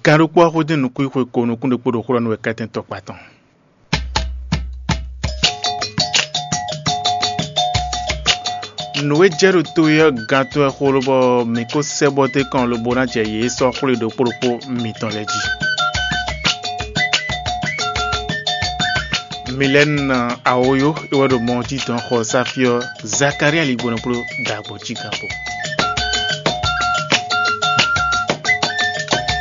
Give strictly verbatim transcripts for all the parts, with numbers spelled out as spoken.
Gan ɖokpó ɔ́ xwedó nukún xwe ko nukún ɖokpó ɖo xó ɔ́ nú wɛ kɛ́tɛ́ntɔ́ kpatɔn. Nǔ e jɛ ɖo to e ɔ́ gán tɔn wɛ xó lobɔ mǐ ko sɛ́ bɔ dó kɔn lobo ná jɛ yě sɔ́ xwlé ɖokpó ɖokpó mitɔn lɛ́ɛ jí. Milɛ́nu awoyó é wɛ ɖo mɔ jí dɔn xɔ sáfí ɔ́, Zakalía ligbɔnɔ kpló ɖagbo jí gán kpó.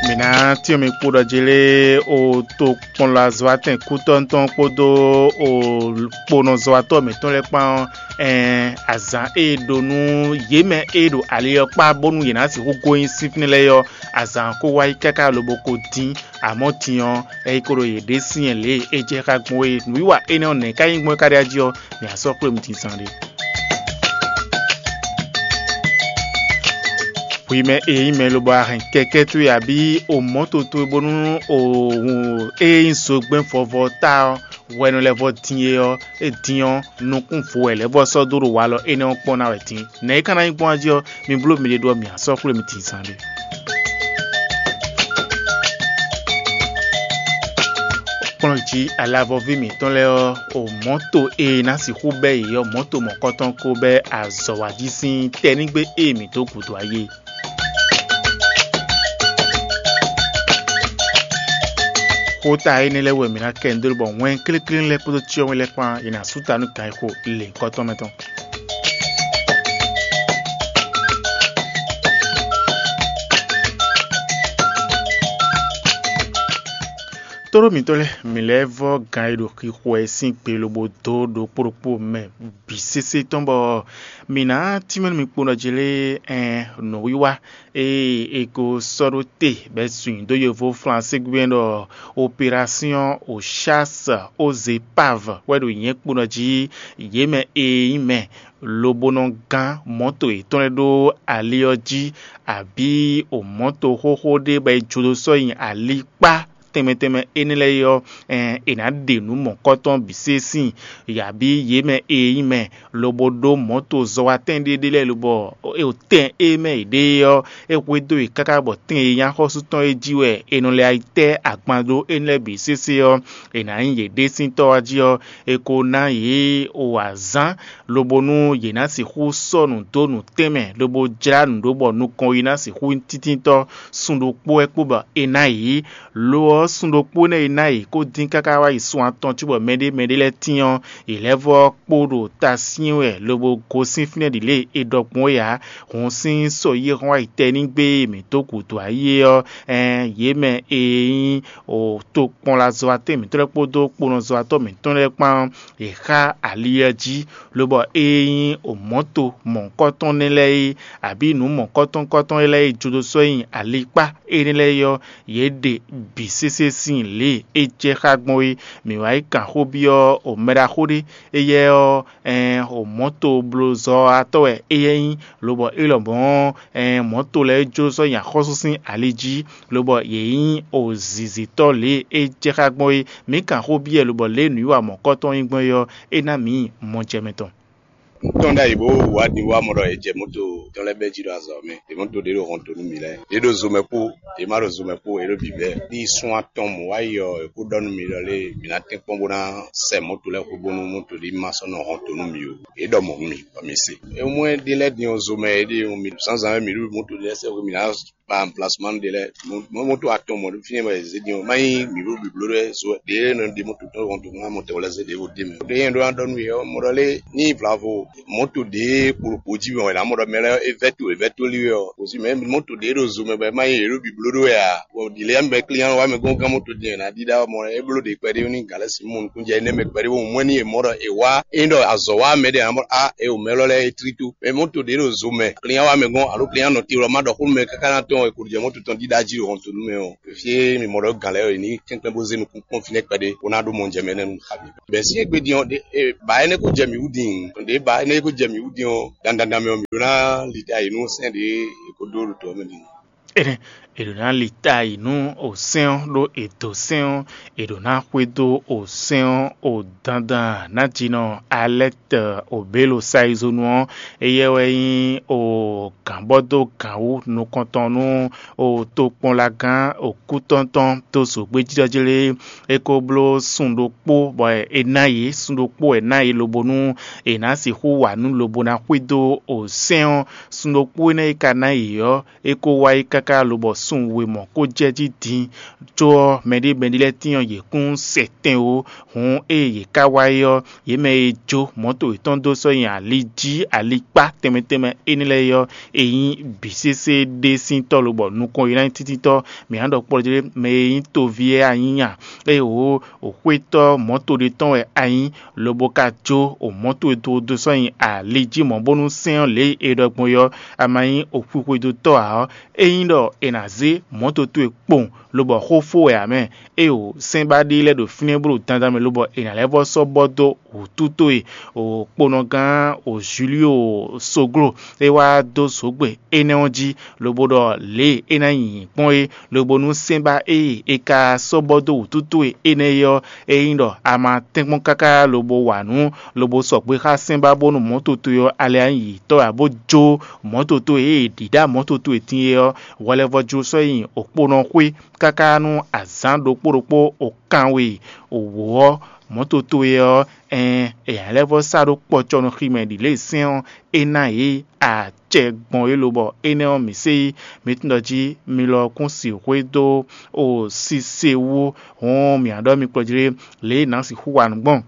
Mǐ ná tyɔ́n mi kpo ɖɔ jí lé o tokpɔnlazɔ́watɛn kútɔ́ tɔn kpódó o kponɔzɔ́watɔ́ mǐtɔn lɛ́ɛ kpán ɔ́, ɛɛn azǎn e è ɖó nú yě mɛ e ɖo ali ɔ́ kpá bónú yě ná sixú gosín fínɛ́ lɛ́ɛ ɔ́, azǎn ɔ́ ko wá yi káká lobo ko dín, amɔ̌ din ɔ́, é yi ko ɖo yě ɖe syɛ́n lě e é jɛ xá gbɔn é. Nǔwiwa énɛ́ ɔ́, nɛ̌ ká nyí gbɔn é ka ɖe ají ɔ́, mǐ á sɔ́ xwlé mì din zán ɖé. Hwi mɛ e nyí mɛ lobo a hɛn kɛkɛ́ towe abǐ o mɔ̌to towe bónú o e nyí zogbɛ́n vɔvɔ ta ɔ́, hwɛ nɔ lɛ́ vɔ din é ɔ́, é din ɔ́, nukún vo wɛ lɛ́ vɔ sɔ́ dó ɖo walɔ énɛ́ ɔ́ kpɔ́n ná wɛ din. Nɛ̌ é ka ná nyí gbɔn jí ɔ́, mi bló miɖée ɖó ɔ́, mǐ á sɔ́ xwlé mi din zán ɖé. Kplɔ́n jí alavɔví mǐtɔn lɛ́ɛ ɔ́, o mɔ̌to e ná sixú bɛ́ yě ɔ́, mɔ̌to mɔ̌kɔtɔn ko bɛ́ azɔ̌ wá jí sín tɛnígbe e mǐ dó gǔdo ayé. Xóta énɛ́ lɛ́ɛ wɛ mǐ ná kɛ nǔ dó bɔ wɛn kléklé lɛ́ɛ kpódó cyɔ́mɛ lɛ́ɛ kpán è nǎ sú ta nú gǎn e xo lěhunkɔtɔn mɛ tɔn. Tóɖó mǐtɔn lɛ́ɛ, mǐ lɛ́ vɔ́ gan e ɖo xixo wɛ sín gbe lobo dó ɖokpó ɖokpó mɛ bǐ sésé tɔn bɔ mǐ ná tínmɛ nú mi kpo nɔ jlé ɛn nǔwiwa e è ko sɔ́ ɖó te bɔ è sun nyi dó yovó Flansé gbɛ́n ɖɔ opération au chasse aux épaves wɛ ɖo nyɛ̌ kpo nɔ jí yě mɛ e nyí mɛ lobo nɔ gán mɔ̌to yětɔn lɛ́ɛ ɖó ali ɔ́ jí, abǐ o mɔ̌to xóxó ɖé bɔ è jó dó sɔ́ nyi ali kpá tɛnmɛ tɛnmɛ énɛ́ lɛ́ɛ é ɔ́, è nǎ ɖe nǔ mɔ̌kɔtɔn bǐ se síin, yě abǐ yě mɛ e nyí mɛ, lobo ɖó mɔ̌to zɔ́watɛ́n ɖé ɖé lɛ́ɛ lobɔ tɛn e mɛ yě ɖe é ɔ́, é hwedó yě káká bɔ tɛn e nyí axɔ́sú tɔn é jí wɛ è nɔ lɛ́ yi tɛ́ agban ɖó énɛ́ lɛ́ɛ bǐ sésé ɔ́, è nǎ nyí yě ɖésíntɔ́ ɔ́ jí ɔ́, è ko ná yě o azǎn, lobo nú yě ná sixú sɔ́ nǔ dó nǔtɛn mɛ, lobo jlá nǔ ɖó bɔ nukɔn yi ná sixú nyí títíntɔ́. Sun ɖokpó wɛ kpo bɔ è ná yě. Lo ɔ́, sun ɖokpó énɛ́ e ná yě kó dín káká wá yi sun atɔn cóbɔ mɛɖé mɛɖé lɛ́ɛ tín ɔ́, yě lɛ́ vɔ́ kpo ɖo ta syɛ́n wɛ lobo gosín fínɛ́ ɖi lě e è ɖɔ gbɔn é ǎ. Hǔn sín sɔ́yi e hɔn wá yi tɛnígbe e mǐ dó gǔdo ayé ɔ́, ɛɛn yě mɛ e nyí tokpɔnlazɔ́watɛ́n mǐtɔn lɛ́ɛ kpódó kponɔzɔ́watɔ́ mǐtɔn lɛ́ɛ kpán ɔ́, yě xá ali ɔ́ jí, lobɔ ée nyí mɔ̌to mɔ̌hunkɔtɔn nɛ́ lɛ́ɛ é, abǐ nǔ mɔ̌hunkɔtɔn lɛ́ɛ é jódó sɔ́ nyi alikpá énɛ́ lɛ́ɛ é ɔ́, yě ɖe bǐ sésé sín lě e é jɛ xá gbɔn é. Mǐ wá yi kan xó byɔ́ mɛɖaxó ɖé, éyɛ́ ɔ́, ɛɛn, mɔ̌toblozɔ́watɔ́ wɛ éyɛ́ nyí, lobɔ é lɔmɔ̌, ɛɛn, mɔ̌to lɛ́ɛ é jó sɔ́ nyi axɔ́sú sín ali jí, lobɔ yě nyí zǐzítɔ́ lě e é jɛ xá gbɔn é. Mǐ kan xó byɔ́ ɛ, lobɔ lě e nǔwiwa mɔ̌kɔtɔn nyí gbɔn é ɔ́, é ná mǐ mɔjɛmɛ tɔn. Un tɔ́n ɖ'ayǐ bó wá din wá mɔ ɖɔ è jɛ mɔto tɔn lɛ́ɛ bɛ́ jí ɖo azɔ̌ mɛ. È mɔto ɖě ɖo hɔnto nú mǐ lɛ́ɛ. È ɖo zo mɛ kpó, è má ɖo zo mɛ kpó, è ɖo bǐ bɛ́. Ní sun atɔn mɔ̌ wá yi ɔ́, è kó ɖɔ nú mǐ ɖɔ lé mǐ ná tɛ́nkpɔ́n bó ná sɛ mɔto lɛ́ɛ xwé bónú mɔto ɖé ma sɔ́ nɔ hɔnto nú mǐ ó. È ɖɔ mɔ̌ nú mǐ, bɔ mǐ se. É mɔ ɛ ɖe lɛ́ɛ din ɔ́ zo mɛ é ɖe mǐ zǎnzǎn wɛ mǐ ɖo mɔto ɖé lɛ́ɛ sɛ xwé mǐ ná kpa anplasman ɖé lɛ́ɛ. Mɔto atɔn mɔ ɖo fínɛ́ mɛ zé din ɔ́, má nyí mǐ ɖo bǐbló ɖé zo ɖě nɔ ɖe mɔto tɔn hɔnto ná mɔtɛ wɛ lɛ́ɛ zé ɖěvo d'é mɛ. Ɖé nyɛ ɖó ná ɖɔ nú yě ɔ́, mɔ ɖɔ lé ní vlavo mɔto ɖě kpolokpo jí mɛ wɛ ná mɔ ɖɔ mɛ lɛ́ɛ é vɛ́ to é vɛ́ to lí wɛ ɔ́, kò sí mɛ mɔto ɖě ɖo zo mɛ bɔ é má nyí yě ɖo bǐbló ɖó wɛ ǎ. Bɔ ɖi lɛ́ɛ mɛ klínyán wá mɛ gɔ́n gán mɔto din ná ɖíɖá mɔ é bló ɖě kpɛɖé ní gǎlɛ́ sí mɔ nukúnjɛ énɛ́ mɛ kpɛɖé bó mɔ ní è mɔ ɖɔ è wá é ɖɔ azɔ̌ wá mɛ ɖé ǎ mɔ á é o mɛ lɔ lɛ́ɛ é tlí tó. Mɛ mɔto ɖě ɖo zo mɛ klínyán wá mɛ gɔ́n alo klínyán nɔ te lɔ má ɖɔ xó nú mɛ káká ná tɔn è ko ɖo jɛ mɔto tɔn ɖíɖá jí ɖo hɔnto nú mɛ ɔ́. Fí e mǐ mɔ ɖɔ gǎn lɛ́ɛ ɔ́, è ní kɛnklɛ́n bó zé nukún kpɔ́n fínɛ́ kpɛɖé bó ná ɖó mɔjɛmɛ énɛ́ nú xá mǐ. Bɛ̌ sín égbé din ɔ́, ɖě e ba énɛ́ ko jɛ mǐ wú din, ɖě ba énɛ́ ko jɛ mǐ wú din ɔ́, dandan mɛ ɔ́, mǐ ɖó ná li ta yi nú sɛ́n ɖě è ko ɖó ɖo tɔ̌ mɛ din. Énɛ́ È ɖǒ ná li ta yi nú osɛ́n ɔ́, ɖó è dǒ sɛ́n ɔ́, è ɖǒ ná xwedó osɛ́n ɔ́ o dandan nǎjínɔ Alɛ́tɛ Obélo Sayizonu ɔ́. Éyɛ́ wɛ nyí o gǎnbɔ́dó gǎnwú nukɔntɔn nú o tokpɔnlagán okútɔ́ntɔn dó zǒgbéjítɔ́ jí lé. É ko bló sun ɖokpó bɔ è ná yě, sun ɖokpó wɛ ná yě lobo nú è nǎ sixú wa nǔ lobo ná xwedó osɛ́n ɔ́. Sun ɖokpó énɛ́ e ka ná yě ɔ́, é ko wá yi káká lobɔ sun we mɔ̌ ko jɛ jí din. Có ɔ́, mɛɖé mɛɖé lɛ́ɛ tín ɔ́, yě kún sɛ tɛn ó. Hǔn ée yě ká wá yi ɔ́, yě mɛ e jó mɔ̌to yětɔn dó sɔ́ nyi ali jí, alikpá tɛnmɛ tɛnmɛ énɛ́ lɛ́ɛ é ɔ́, è nyí bǐ sésé ɖé sín tɔ́ lobɔ nukɔn e ná nyí tíntítɔ́. Mǐ ná ɖɔ kpɔ́ jí mɛ e nyí toví é anyínya, ée wǒ xwétɔ́ mɔ̌to ɖé tɔn wɛ a nyí, lobo ka jó o mɔ̌to e dó dó sɔ́ nyi ali jí mɔ̌ bónú sɛ́n ɔ́ lě e è ɖɔ gbɔn é ɔ́, a ma nyí o xwixwedótɔ́ ǎ ɔ́, é nyí ɖɔ è nǎ zé mɔ̌to towe kpowun, lobɔ xó fó wɛ ǎ mɛ. Éeǒ, sɛ́n ba ɖé lɛ́ɛ ɖo fínɛ́ bó ɖo dandan mɛ, lobɔ è nǎ lɛ́ vɔ́ sɔ́ bɔ́ dó wǔtu towe, o kponɔgán o Julio Soglo, é wá dó zǒgbe énɛ́ ɔ́ jí, lobo ɖɔ lě e é ná nyi gbɔn é, lobo nú sɛ́n ba ée è ka sɔ́ bɔ́ dó wǔtu towe énɛ́ é ɔ́, é nyí ɖɔ a ma tɛ́nkpɔ́n káká lobo wa nǔ, lobo sɔgbe xá sɛ́n ba bónú mɔ̌ toto ɔ́, alɛ anyǐyítɔ́ ǎ bó jó mɔ̌ toto e è ɖǐ ɖó mɔ̌ toto e din é ɔ́, hwɛ lɛ́ vɔ jló sɔ́ nyi okponɔ xwé káká nú azǎn ɖokpó ɖokpó o kanwe wǒ ɔ́, mɔ̌ toto e ɔ́, ɛɛn è nǎ lɛ́ vɔ sá ɖó kpɔcɔ nú xi mɛ ɖi lě e sɛ́n ɔ́ é ná yě acɛ gbɔn é lobɔ énɛ́ ɔ́ mǐ se yí. Mi tunwun ɖɔ jí mi lɔ kún sixwé dó o sise wú, hɔn mǐ á ɖɔ mi kplɔ́ jí lě e nǎ sixú wa nǔ gbɔn.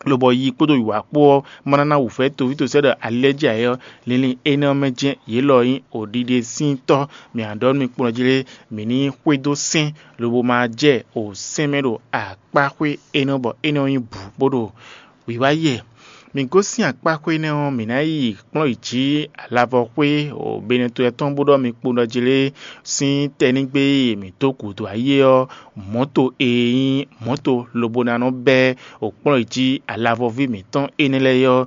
Lobɔ yi kpódó wǐwá kpó ɔ́ ma ná ná wǔvɛ́ toví tosɛ́ ɖɔ ali lɛ́ɛ jí ayɛ ɔ́, linlin énɛ́ ɔ́ mɛ jɛ́n yě lɔ nyí oɖiɖe sín tɔ́. Mǐ á ɖɔ nú mi kplɔ́ jí lé, mǐ ní xwedó sɛ́n, lobo ma jɛ o sɛ́n mɛ ɖo akpáxwé énɛ́ ɔ́, bɔ énɛ́ ɔ́ nyí bǔ bó ɖo wǐwá yɛ. Mǐ gosín akpáxwé énɛ́ ɔ́, mǐ ná yi kplɔ́n yi jǐ alavɔxwé o Benɛto tɔn bó ɖɔ mi kpo ɖɔ jí lé sín tɛnígbe e mǐ dó gǔdo ayé ɔ́, mɔ̌to e nyí mɔ̌to lobo ná nɔ bɛ́ o kplɔ́n yi jí alavɔví mǐtɔn énɛ́ lɛ́ɛ ɔ́,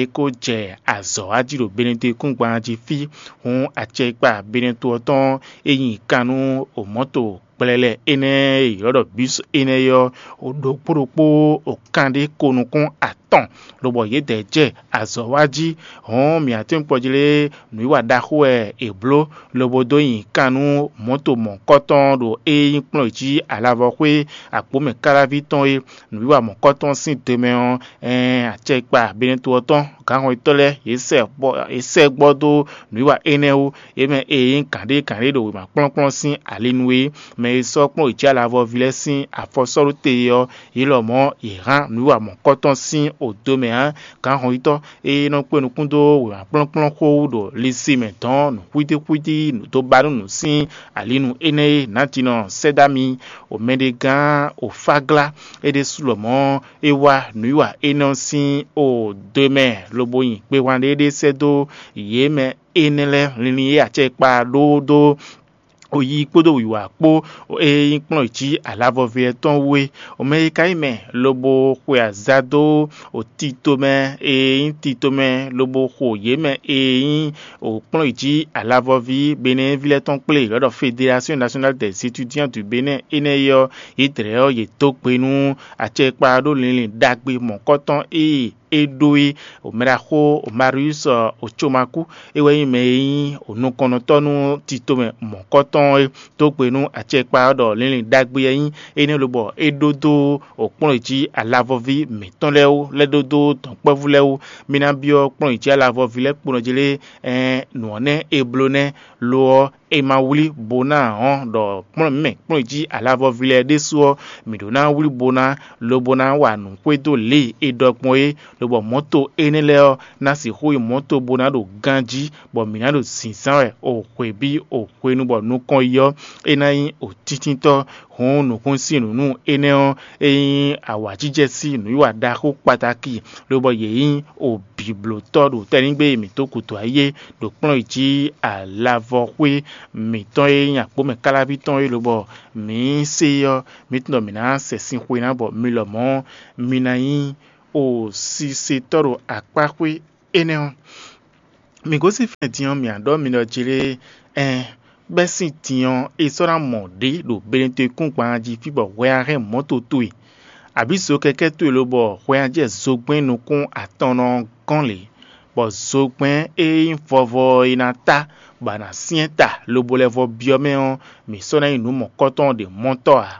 é ko jɛ azɔ̌ wá jí ɖo Benɛto kúngban jí fí. Hǔn acɛkpa Benɛto ɔ́ tɔn e nyi kan nú o mɔ̌to kplɛlɛ énɛ́ e ylɔ́ ɖɔ bǐs énɛ́ é ɔ́, ɖokpó ɖokpó o kanɖé ko nukún atɔn, lobɔ yědɛɛ jɛ azɔ̌ wá jí. Hɔ̌n mǐ atɛ́nkpɔ́ jí lé nǔwiwa ɖaxó wɛ è bló, lobo dó nyi kan nú mɔ̌to mɔ̌kɔtɔn ɖo é nyí kplɔ́n jí alavɔxwé agbǒmɛ káláví tɔn é. Nǔwiwa mɔ̌kɔtɔn sín do mɛ ɔ́, ɛɛn acɛkpa Benɛto ɔ́ tɔn gǎnhɔnnyitɔ́ lɛ́ɛ yě sɛ gbɔ yě sɛ gbɔ dó nǔwiwa énɛ́ wú. Yě mɛ e nyí gǎnɖé gǎnɖé ɖo wěma kplɔ́nkplɔ́n sín ali nu é, mɛ e sɔ́ kplɔ́n yě jí alavɔví lɛ́ɛ sín afɔ sɔ́ ɖó te é ɔ́, yě lɔmɔ̌ yě hán nǔwiwa mɔ̌kɔtɔn sín odo mɛ ǎ. Gǎnhɔnnyitɔ́ e nɔ kpé nukún dó wěma kplɔ́nkplɔ́n xó wú ɖo lisi mɛ dɔn nǔxwítíxwítí dó ba nú nǔ sín ali nu énɛ́ é, nǎtinɔ sɛ́ dó ami, o mɛɖegán o fáglá é ɖésú lɔmɔ̌ é wá nǔwiwa énɛ́ ɔ́ sín o do mɛ lobo nyi gbehwan ɖé ɖé sɛ́ dó yě mɛ énɛ́ lɛ́ɛ linlin e acɛkpa ɖó dó o yi kpódó wǐwá kpó e nyí kplɔ́n jí alavɔví ɔ́ tɔn wú é. O mɛ e ka nyí mɛ lobo xwe azǎ dó o tito mɛ e nyí tito mɛ lobo xo yě mɛ e nyí o kplɔ́n jí alavɔví Benɛ́ví lɛ́ɛ tɔn kplé lɔ̌ ɖɔ Fédération Nationale des Étudiants du Bénin énɛ́ é ɔ́, yě dlɛ̌ ɔ́ yě dó gbe nú acɛkpa ɖó linlin ɖagbe mɔ̌kɔtɔn e é ɖó é. O mɛ ɖaxó o Marius o Comaku é wɛ nyí mɛ e nyí o nukɔnnɔtɔ́ nú tito mɛ mɔ̌kɔtɔn é dó gbe nú acɛkpa ɔ́ ɖɔ linlin ɖagbe ɔ́ nyí énɛ́ lobɔ é ɖó dó o kplɔ́n jí alavɔví mǐtɔn lɛ́ɛ wú lɛ́ ɖó dó dɔ̌nkpɛ́vú lɛ́ɛ wú. Mi ná byɔ́ kplɔ́n jí alavɔví lɛ́ɛ kpo nɔ jí lé, ɛɛn nǔ ɔ́ nɛ́ è bló nɛ́. Lo ɔ́, è ma wlí bo ná ǎ ɔ́, ɖɔ kplɔ́n mǐ mɛ kplɔ́n jí alavɔví lɛ́ɛ ɖésú ɔ́, mǐ ɖó ná wlí bo ná lobo ná wa nǔ xwedó lě e è ɖɔ gbɔn é, lobɔ mɔ̌to énɛ́ lɛ́ɛ ɔ́ ná sixú nyí mɔ̌to bó ná ɖo ganjí, bɔ mǐ ná ɖo zǐnzán wɛ o hwebí o hwenu bɔ nukɔn yi ɔ́, é ná nyí o tíntítɔ́. Hǔn nǔkún sín nǔ nú énɛ́ ɔ́, é nyí awǎjijɛ sín nǔwiwa ɖaxó kpatáki, lobɔ yě nyí o bǐblótɔ́ ɖo tɛ́nnígbé e mǐ dó gǔdo ayé ɖo kplɔ́n yi jí alavɔxwé mǐtɔn e nyí agbǒmɛ káláví tɔn é, lobɔ mǐ se ɔ́, mǐ tunwun ɖɔ mǐ ná sɛ sin xwe ná bɔ mi lɔmɔ̌ mi ná nyí o sisetɔ́ ɖo akpáxwé énɛ́ ɔ́. Mǐ gosín fɛ́n din ɔ́, mǐ á ɖɔ mi ɖɔ jí lé, ɛn Bɛ́ sín din ɔ́, è sɔ́ ná mɔ ɖě ɖo Benetɔn-kúngban jí fí bɔ hwɛ ná hɛn mɔ̌to towe, abǐ zokɛkɛ́ towe lobɔ hwɛ ná jɛ zogbɛ́n nukún atɔnnɔ ɔ́ gɔ́n lě, bɔ zogbɛ́n e nyí vɔvɔ ɔ́ é ná tá, bɔ a nǎ syɛ́n ta lobo lɛ́ vɔ́ byɔ́ mɛ ɔ́, mǐ sɔ́ ná nyí nǔ mɔ̌kɔ́tɔn ɖě mɔ́tɔ́ ǎ.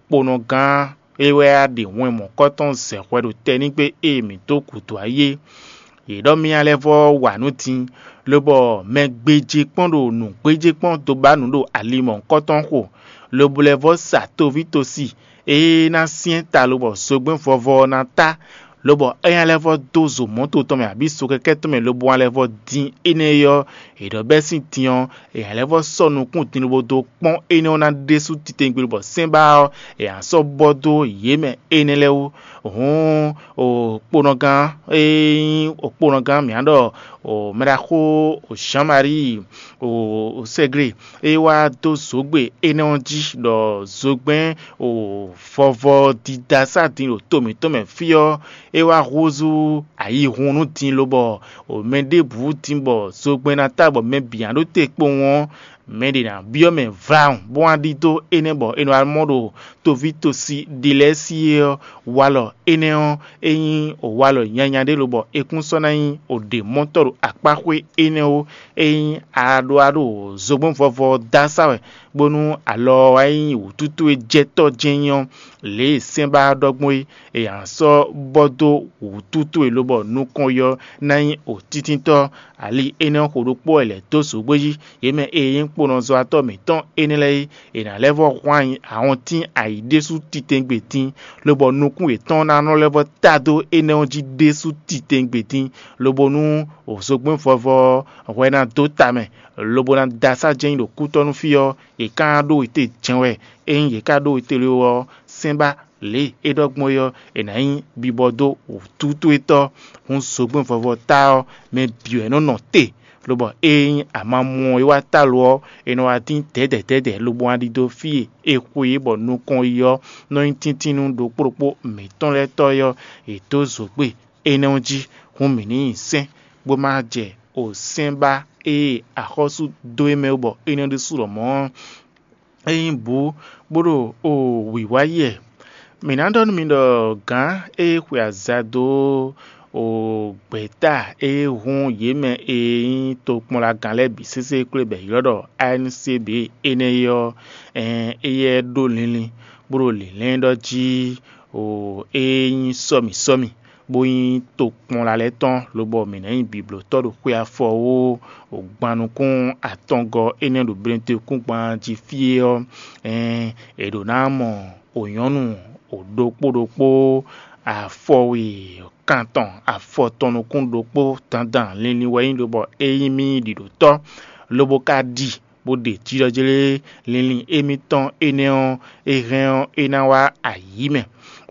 Kponɔgán é wɛ wá ɖe wɛn mɔ̌kɔ́tɔn zɛ hwɛ ɖo tɛnígbe e mǐ dó gǔdo ayé. Yě ɖɔ mì lɛ́ vɔ́ wa nǔ din, lobɔ mɛ gbéjé kpɔ́n ɖo nǔ gbéjé kpɔ́n dó ba nǔ ɖo ali mɔ̌hunkɔtɔn xo, lobo lɛ́ vɔ́ sa toví tosi e ná syɛ́n ta lobɔ zogbɛ́n vɔvɔ ɔ́ ná tá, lobɔ é ná lɛ́ vɔ́ dó zo mɔ̌to tɔn mɛ abǐ sokɛkɛ́ tɔn mɛ lobo ná lɛ́ vɔ́ dín énɛ́ é ɔ́, è ɖɔ bɛ́ sín din ɔ́, è nǎ lɛ́ vɔ́ sɔ́ nukún din lobo dó kpɔ́n énɛ́ ɔ́ ná ɖésú titewungbe lobɔ sɛ́n ba ɔ́, è nǎ sɔ́ bɔ dó yě mɛ énɛ́ lɛ́ɛ wú. Hǔn, kponɔgán e nyí kponɔgán mǐ ná ɖɔ mɛɖaxó Jean-Marie Segre e wá dó zǒgbe énɛ́ ɔ́ jí ɖɔ zogbɛ́n vɔvɔ didasá din ɖo to mǐtɔn mɛ fí ɔ́, é wá húzú ayihun nú din lobɔ mɛ ɖěbǔ din bɔ zogbɛ́n ná ta bɔ mɛ bǐ ná ɖó te kpowun ɔ́, mɛ ɖě ná byɔ́ mɛ vlawun bó wá ɖidó énɛ́ bɔ è nɔ wá mɔ ɖo toví tosi ɖi lɛ́ɛ sí é ɔ́, walɔ énɛ́ ɔ́, é nyí walɔ nyanya ɖé lobɔ è kún sɔ́ ná nyí ɖě mɔtɔ́ ɖo akpáxwé énɛ́ ó. É nyí aɖoaɖo zogbɛ́n vɔvɔ ɔ́ dó asá wɛ, bónú alɔ ɔ́ wá nyí wǔtútú e jɛ tɔ́ jɛ́n nyí ɔ́, lě e sɛ́n ba ɔ́ ɖɔ gbɔn é, è nǎ sɔ́ bɔ dó wǔtútú e lobɔ nukɔn yɔ ná nyí wǔtítíntɔ́. Ali énɛ́ ɔ́ xo ɖokpó wɛ lɛ̌ dó zǒgbé jí. Yě mɛ e nyí kponɔzɔ́watɔ́ mǐtɔn énɛ́ lɛ́ɛ é, è nǎ lɛ́ vɔ́ hwán ahɔntín ayǐ ɖésú titewungbe dín, lobɔ nukún yětɔn ná nɔ lɛ́ vɔ́ ta dó énɛ́ ɔ́ jí ɖésú titewungbe dín, lobo nú zogbɛ́n vɔvɔ ɔ́ hwɛ ná dó ta mɛ, lobo ná dó asá jɛ́n nyi ɖo kútɔ́ nú fí ɔ́, yě ka ɖó we te jɛ́n wɛ. Ényí yě ka ɖó we te lo ɔ́, sɛ́n ba lě e é ɖɔ gbɔn é ɔ́, è nǎ nyí bibɔ dó wǔtútú étɔ́. Hǔn zogbɛ́n vɔvɔ ta ɔ́, mɛ bǐ wɛ nɔ nɔ te, lobɔ ényí amamú ɔ́ yi wá ta lo ɔ́, è nɔ wá dín dɛ̌dɛ̌ dɛ̌dɛ̌ lobo wá ɖidó fí e è xwe é bɔ nukɔn yi ɔ́ nɔ nyí tíntínnú ɖokpó ɖokpó mǐtɔn lɛ́ɛ tɔ́ é ɔ́, è dǒ zǒgbe énɛ́ ɔ́ jí. Hǔn mǐ ní nyi sɛ́n, bó má jɛ o sɛ́n ba e axɔ́sú dó é mɛ wú bɔ énɛ́ ɖésú lɔmɔ̌ ɔ́, é nyí bǔ bó ɖo o wǐwá yi wɛ. Mǐ ná ɖɔ nú mi ɖɔ gǎn e xwe aza dó o gbɛ̌ta e hun yě mɛ e nyí tokpɔnlagán lɛ́ɛ bǐ sésé kplé bɔ è ylɔ́ ɖɔ A N C B énɛ́ é ɔ́, ɛn éyɛ́ ɖó linlin bó ɖo lǐnlɛ́n ɖɔ jí o e nyí sɔ́mi sɔ́mi, bó nyí tokpɔnla lɛ́ɛ tɔn, lobɔ mǐ ná nyí bǐblótɔ́ ɖo xwe afɔ ó. Gban nukún atɔngɔ́ énɛ́ ɖo Blɛ́ntekúngban jí fí é ɔ́, ɛn è ɖǒ ná mɔ o nyɔ̌nu o ɖokpó ɖokpó afɔwe kantɔn afɔtɔn nukún ɖokpó dandan linlin wɛ nyí lobɔ é nyí mì ɖiɖǒtɔ́, lobo ka ɖi bó ɖe jǐɖɔjlé linlin émítɔn énɛ́ ɔ́, é hɛn ɔ́, é ná wá ayǐ mɛ.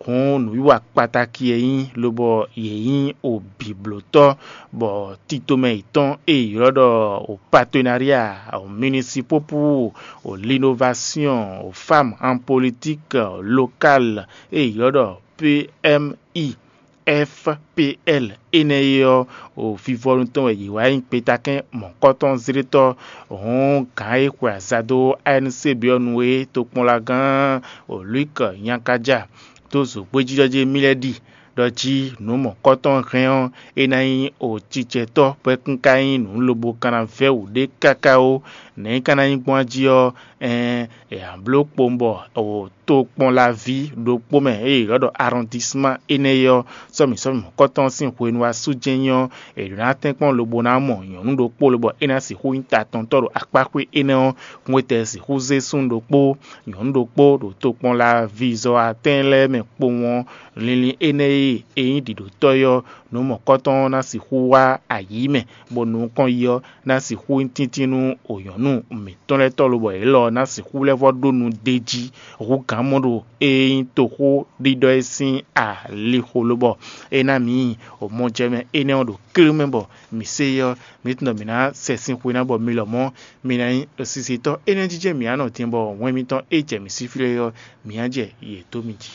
Hǔn nǔwiwa kpatáki e nyí lobɔ yě nyí o bǐblótɔ́, bɔ tito mɛ yětɔn e è ylɔ́ ɖɔ o partenariat municipal pour o l'innovation o femme en politique locale e è ylɔ́ ɖɔ P M I F P L énɛ́ é ɔ́, o vivɔnu tɔn wɛ yě wá nyí kpetakɛn mɔ̌kɔtɔn zlétɔ́. Hǔn gǎn e xwe aza dó A N C B ɔ́ nu é tokpɔnlagán o Luc Nyankaja dó zǒgbéjínjɔ́ jí émí lɛ́ɛ ɖi ɖɔ jí nǔ mɔ̌kɔtɔn hɛn ɔ́, é ná nyí o cicɛtɔ́ bɔ é kún ka nyí nǔ lobo ka ná vɛ́ wǔ ɖé káká ó. Nɛ̌ é ka ná nyí gbɔn jí ɔ́, ɛɛn è nǎ bló kpowun bɔ o tokpɔnlaví ɖokpó mɛ e è ylɔ́ ɖɔ arɔndisman énɛ́ é ɔ́, sɔ́mǐ sɔ́mǐ mɔ̌kɔtɔn sín hwenu wá sú jɛ́n nyí ɔ́, è ɖǒ ná tɛ́nkpɔ́n lobo ná mɔ nyɔ̌nu ɖokpó lobɔ é ná sixú nyí tatɔntɔ́ ɖo akpáxwé énɛ́ ɔ́, hwetɛ́ sixú zé súnnu ɖokpó, nyɔ̌nu ɖokpó ɖo tokpɔnlaví zɔ atɛ́n lɛ́ɛ mɛ kpowun ɔ́, linlin énɛ́ e é nyí ɖiɖǒtɔ́ é ɔ́, nǔ mɔ̌kɔtɔn ɔ́ ná sixú wá ayǐ mɛ, bɔ nukɔn yi ɔ́ ná sixú nyí tíntín nú nyɔ̌nu mǐtɔn lɛ́ɛ tɔ́ lobɔ yě lɔ ná sixú lɛ́ vɔ́ ɖó nu d'é jí hú gǎn mɔ ɖo e nyí toxó ɖiɖɔ é sín alixo lobɔ é ná mǐ mɔjɛmɛ énɛ́ ɔ́ ɖo klé mɛ bɔ mǐ se é ɔ́, mǐ tunwun ɖɔ mǐ ná sɛ sín xwe ná bɔ mi lɔmɔ̌ mi ná nyí sisitɔ́ énɛ́ jijɛ mǐ ná nɔ din bɔ hwɛn mitɔn e jɛ mǐ sí flé ɔ́, mǐ ná jɛ yě dó mi jí.